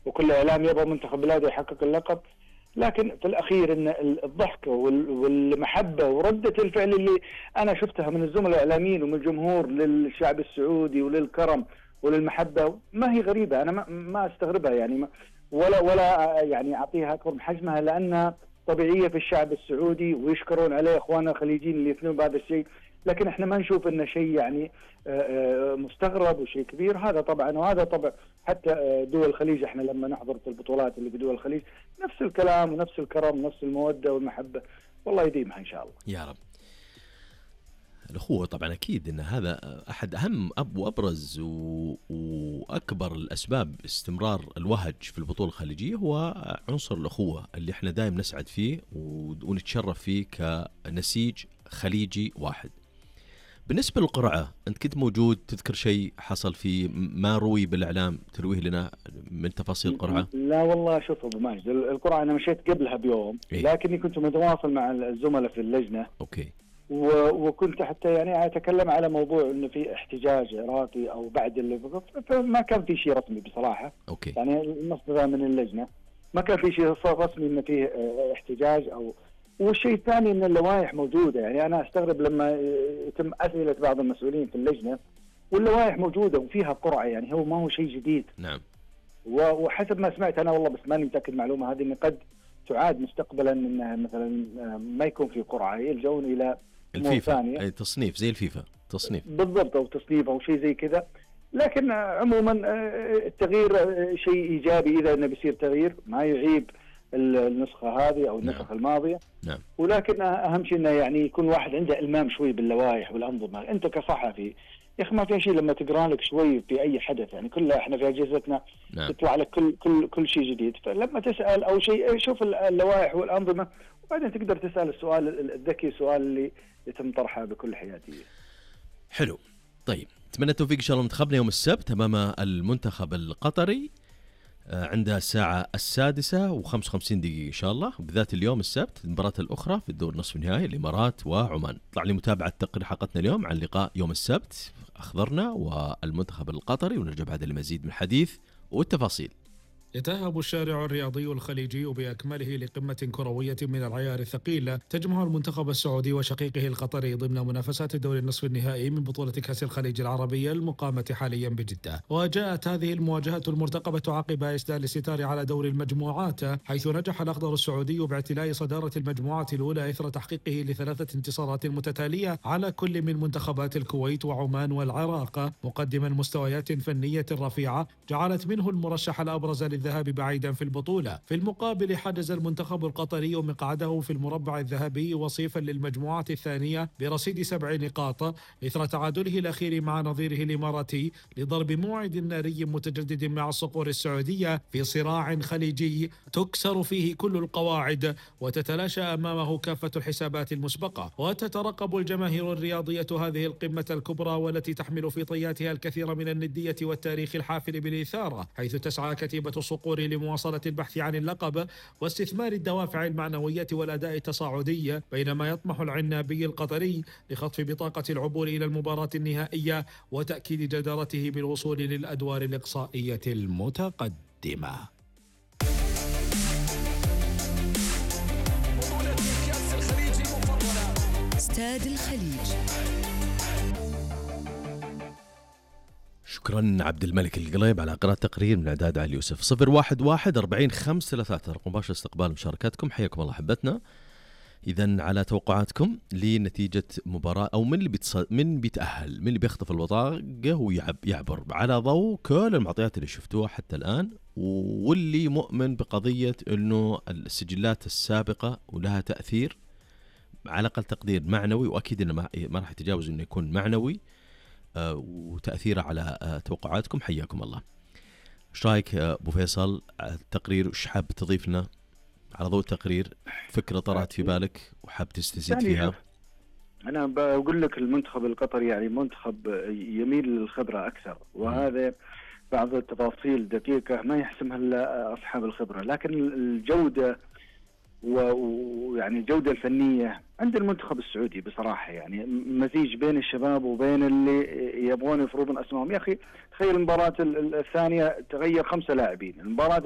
وكل إعلام يبغى منتخب بلاده يحقق اللقب. لكن في الأخير إن الضحكة والمحبة وردة الفعل اللي أنا شفتها من الزملاء الإعلاميين ومن الجمهور للشعب السعودي وللكرم وللمحبة ما هي غريبة. أنا ما أستغربها يعني، ولا يعني أعطيها أكبر من حجمها، لأنها طبيعية في الشعب السعودي ويشكرون عليه إخواننا الخليجيين اللي يثنون بهذا الشيء. لكن احنا ما نشوف انه شيء يعني مستغرب وشيء كبير. هذا طبعا، وهذا طبع حتى دول الخليج. احنا لما نحضر في البطولات اللي في دول الخليج نفس الكلام ونفس الكرم ونفس المودة والمحبة، والله يديمها ان شاء الله يا رب. الأخوة طبعا أكيد أن هذا أحد أهم وأبرز وأكبر الأسباب استمرار الوهج في البطولة الخليجية، هو عنصر الأخوة اللي احنا دائم نسعد فيه ونتشرف فيه كنسيج خليجي واحد. بالنسبة للقرعة، أنت كنت موجود، تذكر شيء حصل فيه ما روي بالإعلام ترويه لنا من تفاصيل القرعة؟ لا والله، شوف أبو ماجد، القرعة أنا مشيت قبلها بيوم لكني كنت متواصل مع الزملاء في اللجنة. أوكي. وكنت حتى يعني أتكلم على موضوع إنه في احتجاج عراقي أو بعد اللي فما كان في شيء رسمي بصراحة. أوكي. يعني المصدر من اللجنة ما كان في شيء رسمي إنه فيه احتجاج أو. والشيء الثاني إن اللوائح موجودة. يعني أنا أستغرب لما يتم أسئلة بعض المسؤولين في اللجنة واللوائح موجودة وفيها قرعة، يعني هو ما هو شيء جديد. نعم. وحسب ما سمعت أنا والله، بس ماني متأكد المعلومة هذه، إن قد تعاد مستقبلا إنها مثلا ما يكون في قرعة، يلجؤون إلى الفيفا، أي تصنيف زي الفيفا، تصنيف بالضبط، أو تصنيف أو شيء زي كذا. لكن عموما التغيير شيء إيجابي إذا إنه بيصير تغيير، ما يعيب النسخة هذه أو النسخة الماضية. نعم. ولكن أهم شيء إنه يعني يكون واحد عنده إلمام شوي باللوائح والأنظمة. أنت كصحفي يا أخي ما في شيء لما تقرأ لك شوي في أي حدث، يعني كلها إحنا في أجهزتنا تطلع لك كل شيء جديد. فلما تسأل أو شيء شوف اللوائح والأنظمة وبعدين تقدر تسأل السؤال الذكي، السؤال اللي يتم طرحه بكل حيادية. حلو. طيب، أتمنى التوفيق إن شاء الله منتخبنا يوم السبت أمام المنتخب القطري عندها الساعة 6:55 إن شاء الله، بذات اليوم السبت المباراة الأخرى في الدور نصف النهائي الإمارات وعمان. طلع لي متابعة تقرير حلقتنا اليوم عن لقاء يوم السبت أخضرنا والمنتخب القطري، ونرجع بعد المزيد من الحديث والتفاصيل. يتأهب الشارع الرياضي الخليجي بأكمله لقمة كروية من العيار الثقيل تجمع المنتخب السعودي وشقيقه القطري ضمن منافسات دور النصف النهائي من بطولة كأس الخليج العربية المقامة حاليا بجدة. وجاءت هذه المواجهة المرتقبة عقب إسدال الستار على دور المجموعات، حيث نجح الأخضر السعودي باعتلاء صدارة المجموعة الأولى إثر تحقيقه ل3 انتصارات متتالية على كل من منتخبات الكويت وعمان والعراق، مقدما مستويات فنية رفيعة جعلت منه المرشح الأبرز الذهاب بعيدا في البطولة. في المقابل حجز المنتخب القطري مقعده في المربع الذهبي وصيفا للمجموعة الثانية برصيد 7 نقاط إثر تعادله الأخير مع نظيره الإماراتي لضرب موعد ناري متجدد مع الصقور السعودية في صراع خليجي تكسر فيه كل القواعد وتتلاشى أمامه كافة الحسابات المسبقة. وتترقب الجماهير الرياضية هذه القمة الكبرى والتي تحمل في طياتها الكثير من الندية والتاريخ الحافل بالإثارة، حيث تسعى كتيبة الصقور لمواصلة البحث عن اللقب واستثمار الدوافع المعنوية والأداء التصاعدي، بينما يطمح العنابي القطري لخطف بطاقة العبور إلى المباراة النهائية وتأكيد جدارته بالوصول للأدوار الإقصائية المتقدمة. استاد الخليج. شكرا عبد الملك القليب على قراءة تقرير من إعداد علي يوسف. 011-40-533 رقم مباشر استقبال مشاركاتكم. حياكم الله حبتنا. إذن على توقعاتكم لنتيجة مباراة، أو من بيتأهل، من اللي بيخطف البطاقة ويعبر على ضوء كل المعطيات اللي شفتوها حتى الآن، واللي مؤمن بقضية أنه السجلات السابقة ولها تأثير على أقل تقدير معنوي، وأكيد أنه ما راح يتجاوز أنه يكون معنوي وتأثيره على توقعاتكم. حياكم الله. ايش رايك ابو فيصل التقرير؟ وش حاب تضيف لنا على ضوء التقرير؟ فكرة طرأت في بالك وحاب تستزيد فيها؟ انا بقول لك المنتخب القطري يعني منتخب يميل للخبرة اكثر، وهذا بعض التفاصيل دقيقة ما يحسمها الا اصحاب الخبرة، لكن الجودة ويعني الجودة الفنية عند المنتخب السعودي بصراحة، يعني مزيج بين الشباب وبين اللي يبغون يفرضون أسمائهم. يا أخي تخيل المباراة الثانية تغير 5 لاعبين، المباراة